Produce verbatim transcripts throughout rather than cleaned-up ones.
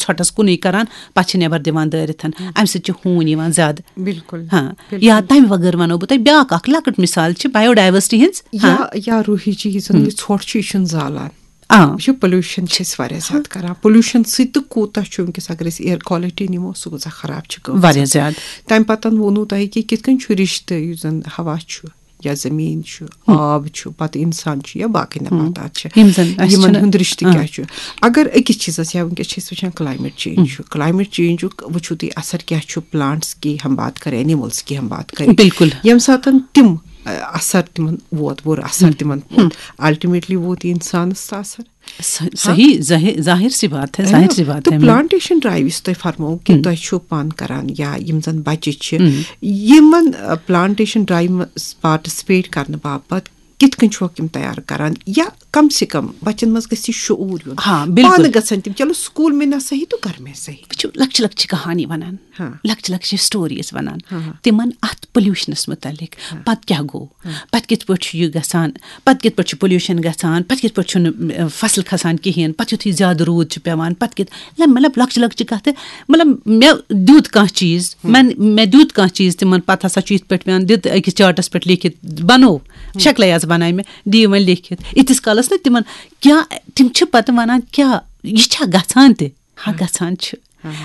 ژھۄٹس کُنُے کران، پتہٕ چھِ نٮ۪بر دِوان دٲرِتھ۔ امہِ سۭتۍ چھِ ہوٗنۍ یِوان زیادٕ۔ بِلکُل۔ ہاں۔ یا تمہِ وغٲر ونو بہٕ تۄہہِ بیاکھ اکھ لۄکٕٹ مثال چھِ بایو ڈائیورسٹی ہٕنٛز۔ یا یا روٗحی چیٖز، یُس زَن یہِ ژھۄٹھ چھُ، یہِ چھُنہٕ زالان۔ آ۔ یہِ چھُ پولیوشن چھِ أسۍ واریاہ زیادٕ کران۔ پولیوشن سۭتۍ تہٕ کوٗتاہ چھُ وٕنکیٚس، اگر أسۍ ایئر کوالٹی نِمو، سُہ کۭژاہ خراب چھِ گٔمٕژ۔ واریاہ زیادٕ۔ تَمہِ پَتہٕ ووٚنوُ تۄہہِ کہِ کِتھ کٔنۍ چھُ رِشتہٕ، یُس زَن ہوا چھُ یا زٔمیٖن چھُ، آب چھُ، پَتہٕ اِنسان چھُ یا باقٕے نباتات چھِ، یِم زَن اَسہِ یِمن چھِنہٕ ہُنٛد رِشتہٕ کیٛاہ چھُ؟ اگر أکِس چیٖزَس، یا وٕنکیٚس چھِ أسۍ وٕچھان کلایمیٹ چینج چھُ، کلایمیٹ چینجُک وٕچھِو تُہۍ اثر کیٛاہ چھُ پلانٹس کی ہم بات کریں، اینیملز کی ہم بات کریں۔ بِلکُل۔ ییٚمہِ ساتَن تِم، ٲ، اثر تِمن ووت، بُرٕ اثر تِمن ووت، الٹیمیٹلی ووت یہِ اِنسانَس سُہ اثر۔ ص- صحیح، ظاہر ظاہر سی بات ہے، ظاہر سی بات تہٕ ہے۔ پلانٹیشن ڈرایو یُس تۄہہِ فرموو کہِ تۄہہِ چھُو پان کران یا یِم زَن بَچہِ چھِ، یِمن، ٲ، پلانٹیشن ڈرایو منٛز پارٹیسپیٹ کرنہٕ باپتھ کِتھ کٔنۍ چھُکھ یِم تیار کران، یا کم سے کم بَچن منٛز گژھِ یہِ شعوٗر یُن؟ ہاں، بِلکُل۔ پانہٕ گژھن تِم، چلو سکوٗل میں نہ صحیح تو گھر میں صحیح۔ وٕچھِو، لۄکچہِ لۄکچہِ کہانی ونان، ہاں۔ لۄکچہِ لۄکچہِ سٹوریز ونان ہاں۔ تِمن اتھ پولیوشنس متعلق، پتہٕ کیٛاہ گوٚو، پتہٕ کِتھ پٲٹھۍ چھُ یہِ گژھان، پتہٕ کِتھ پٲٹھۍ چھُ پولیوشن گژھان، پتہٕ کِتھ پٲٹھۍ چھُنہٕ، ٲ، فصل کھسان کِہیٖنۍ، پتہٕ یُتھُے زیادٕ روٗد چھُ پٮ۪وان، پتہٕ کِتھ، مطلب، لۄکچہِ لۄکچہِ کتھٕ، مطلب، مےٚ دیُت کانٛہہ چیٖز، مےٚ مےٚ دیُت کانٛہہ چیٖز تِمن، پتہٕ ہسا چھُ یِتھ پٲٹھۍ پٮ۪وان دیُت أکِس چارٹس پٮ۪ٹھ لیکھِتھ، بنو، شکلے یٲژ بنایہِ مےٚ، دِیِو وۄنۍ لیکھِتھ۔ ییٖتِس کالس نہٕ تِمن کیٛاہ، تِم چھِ پتہٕ ونان، کیٛاہ یہِ چھا گژھان تہِ؟ ہا، گژھان چھِ۔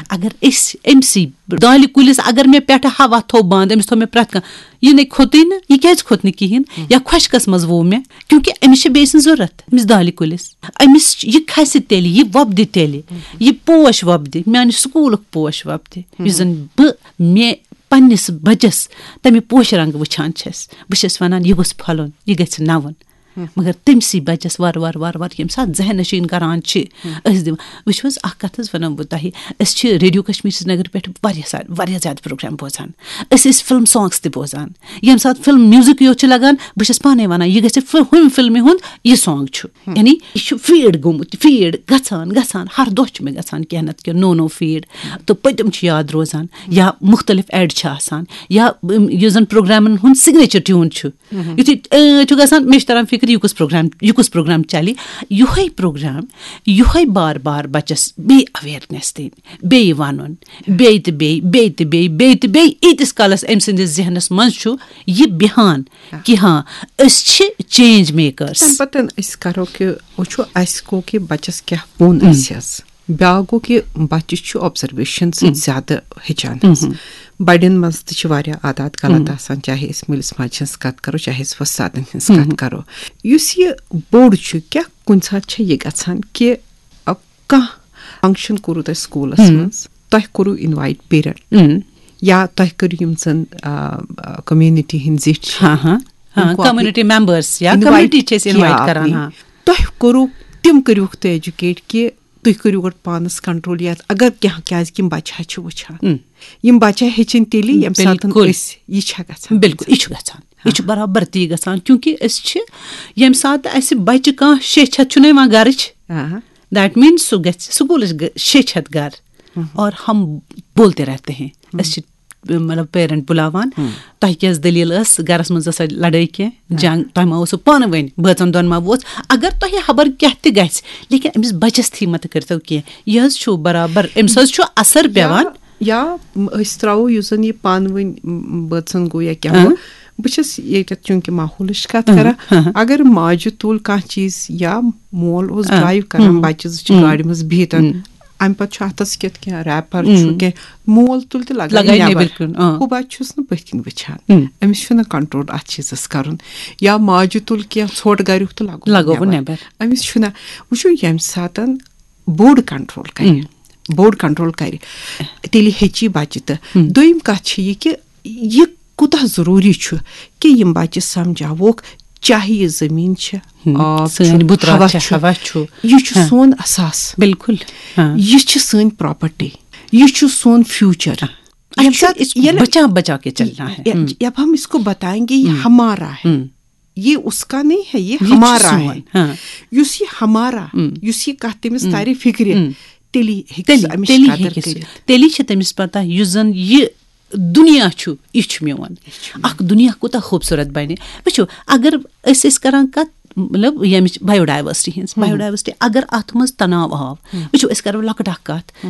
اگر أسۍ أمۍ سٕے دالہِ کُلِس، اگر مےٚ پٮ۪ٹھٕ ہوا تھوٚو بنٛد، أمِس تھوٚو مےٚ پرٛٮ۪تھ کانٛہہ، یہِ نے کھوٚتٕے نہٕ، یہِ کیٛازِ کھوٚت نہٕ کِہیٖنۍ؟ یا خۄشکَس منٛز ووٚو مےٚ، کیونکہِ أمِس چھِ بیٚیہِ سٕنٛز ضوٚرَتھ، أمِس دالہِ کُلِس۔ أمِس چھِ، یہِ کھسہِ تیٚلہِ، یہِ وۄپدِ تیٚلہِ، یہِ پوش وۄپدِ، میٛانہِ سکوٗلُک پوش وۄپدِ، یُس زَن بہٕ مےٚ پنٛنِس بَچَس تَمہِ پوشہِ رنٛگہٕ وٕچھان چھَس۔ بہٕ چھَس وَنان، یہِ گوٚژھ پھۄلُن، یہِ گژھِ نَوُن۔ مگر تٔمۍ سٕے بَچَس وارٕ وارٕ وارٕ وارٕ ییٚمہِ ساتہٕ ذہن نشیٖن کران چھِ، أسۍ دِوان، وٕچھِو حظ، اَکھ کَتھ حظ وَنو بہٕ تۄہہِ، أسۍ چھِ ریڈیو کشمیر سرینگر پٮ۪ٹھ واریاہ سا-، واریاہ زیادٕ پروگرام بوزان۔ أسۍ ٲسۍ فلم سانگس تہِ بوزان۔ ییٚمہِ ساتہٕ فلم میوزک یوت چھُ لگان، بہٕ چھَس پانَے وَنان، یہِ گژھِ فل-، ہُمہِ فلمہِ ہُنٛد یہِ سانگ چھُ۔ یعنی یہِ چھُ فیٖڈ گوٚمُت، فیٖڈ گژھان گژھان، ہر دۄہ چھُ مےٚ گژھان کینٛہہ نَتہٕ کینٛہہ نوٚو نوٚو فیٖڈ۔ تہٕ پٔتِم چھِ یاد روزان، یا مُختلف ایڈ چھِ آسان، یا، اُم، یُس زَن پروگرامَن ہُنٛد سِگنیچر ٹیوٗن چھُ۔ یُتھُے، اۭں، چھُ گژھان، مےٚ چھُ تران فِکرِ، یہِ کُس پروگرام، یہِ کُس پروگرام چلہِ۔ یِہوٚے پروگرام، یِہوٚے بار بار بَچَس بیٚیہِ اویرنیس دِنۍ، بیٚیہِ وَنُن، بیٚیہِ تہٕ بیٚیہِ، بیٚیہِ تہٕ بیٚیہِ، بیٚیہِ تہٕ بیٚیہِ، ییٖتِس کالَس أمۍ سٕنٛدِس ذہنَس منٛز چھُ یہِ بیٚہان کہِ ہاں، أسۍ چھِ چینج میکٲرٕس۔ تَمہِ پَتہٕ أسۍ کَرو کہِ وٕچھو اَسہِ گوٚو کہِ بَچَس کیٛاہ ووٚن اَسہِ حظ۔ بیٛاکھ گوٚو کہِ بَچہِ چھُ آبزرویشن سۭتۍ زیادٕ ہیٚچھان حظ۔ بَڑٮ۪ن منٛز تہِ چھِ واریاہ عادات غلط آسان، چاہے أسۍ مٲلِس ماجہِ ہٕنٛز کَتھ کَرو، چاہے أسۍ وۄستادَن ہٕنٛز کَتھ کَرو۔ یُس یہِ بوٚڑ چھُ، کیٛاہ کُنہِ ساتہٕ چھےٚ یہِ گژھان کہِ، اب، کانٛہہ فنکشن کوٚروٕ تۄہہِ سکوٗلَس منٛز، تۄہہِ کوٚروٕ انوایٹ پیرنٹ، یا تۄہہِ کٔرِو یِم زَن، آ، آ، کمیونٹی ہٕنٛدۍ زِٹھۍ چھِ، ہاں، ہاں، ہاں، تِم کو اپنی کمیونٹی ممبرس یا انوایٹ کمیونٹی چھِ أسۍ انوایٹ یا کران، اپنی، ہاں۔ تۄہہِ کوٚروٕ، تِم کٔرِوُکھ تُہۍ ایجوکیٹ کہِ تُہۍ کٔرِو گۄڈٕ پانَس کنٹرول، یا اگر کینٛہہ، کیٛازِ کہِ یِم بَچہِ ہا چھِ وٕچھان۔ یِم بَچہِ ہا ہیٚچھِنۍ تیٚلی ییٚمہِ ساتہٕ بِلکُل۔ أسۍ یہِ چھا گژھان۔ بِلکُل، یہِ چھُ گژھان، یہِ چھُ برابر تی گژھان، کیونکہ أسۍ چھِ، ییٚمہِ ساتہٕ اَسہِ بَچہِ کانٛہہ شیٚچھِ ہَتھ چھُنہٕ یِوان گَرٕچ، آ۔ that means سُہ گژھِ سکوٗلٕچ گٔ-، شیٚچھِ ہَتھ گَرٕ، اور ہم بولتے رہتے ہیں۔ أسۍ چھِ، مطلب، پیرنٹ بُلاوان، تۄہہِ کیٛاہ ٲس دٔلیٖل ٲس گَرَس منٛز، ٲسا لڑٲے کینٛہہ، جنگ، تۄہہِ ما اوسوٕ پانہٕ ؤنۍ بٲژَن دۄن ما ووت؟ اگر تۄہہِ خبر کیٛاہ تہِ گژھِ، لیکن أمِس بَچَس تھی مَتہٕ کٔرۍتو کینٛہہ۔ یہِ حظ چھُ برابر، أمِس حظ چھُ اثر پٮ۪وان۔ یا، یا أسۍ ترٛاوو یُس زَن یہِ پانہٕ ؤنۍ، م، بٲژَن گوٚو یا کیٛاہ گوٚو، بہٕ چھَس ییٚتٮ۪تھ چوٗنٛکہِ ماحولٕچ کَتھ کَران، اگر ماجہِ تُل کانٛہہ چیٖز یا مول اوس ڈرٛایِو کَران، بَچہِ زٕ چھِ گاڑِ منٛز بِہِتھ، اَمہِ پَتہٕ چھُ اَتھَس کٮ۪تھ کینٛہہ ریپَر چھُ کینٛہہ، مول تُل تہٕ لَگٲے لَگٲے نٮ۪بَر۔ نٮ۪بَر کُن، آ۔ ہُہ بَچہِ چھُس نہٕ پٔتھۍ کِنۍ وٕچھان۔ أمِس چھُنہٕ کنٹرول اَتھ چیٖزَس کَرُن۔ یا ماجہِ تُل کینٛہہ ژھوٚٹ گَریُک تہٕ لَگوو لَگوو نٮ۪بَر۔ نٮ۪بَر۔ أمِس چھُنہٕ، وٕچھِو، ییٚمہِ ساتَن بوٚڑ کنٹرول کرِ، بوٚڑ کنٹرول کرِ، تیٚلہِ ہیٚچی بچہِ تہٕ۔ دوٚیِم کتھ چھِ یہِ کہِ یہِ کوٗتاہ ضروٗری چھُ کہِ یِم بچہِ سمجھاووکھ، چاہے یہِ زٔمیٖن چھِ، آب چھُ، سٲنۍ بُترات ہوا چھِ، چھُ، ہوا چھُ۔ یہِ چھُ ہاں۔ سون اثاث۔ بِلکُل۔ ہاں۔ یہِ چھِ سٲنۍ پراپرٹی، یہِ چھُ سون فیوچر۔ اچھا، ییٚمہِ ساتہٕ اس کو ییٚلہِ بچا بچا کے چلنا ہے۔ یا-، ہم۔ جب ہم اس کو بتائیں گے، یہ ہمارا ہے۔ یہ اس کا نہیں ہے، یہ یہ ہمارا ہے۔ ہاں۔ یُس یہِ ہمارا، یُس یہِ کتھ تٔمِس ترِ فکرِ، تیٚلی ہیٚکہِ سُہ تیٚلہِ، امِچ تیٚلہِ قدر ہیٚکہِ سُہ، کٔرِتھ۔ تیٚلی چھِ تٔمِس پتہ، یُس زن یہِ دُنیا چھُ، یہِ چھُ میون۔ اکھ دُنیا کوٗتاہ خوٗبصوٗرت بنہِ۔ وٕچھِو، اگر أسۍ ٲسۍ کران کتھ، مطلب، ییٚمِچ بایو ڈایورسٹی ہٕنٛز، بایو ڈایورسٹی، اگر اتھ منٛز تناو آو، وٕچھِو، أسۍ کرو لۄکٕٹ اکھ کتھ،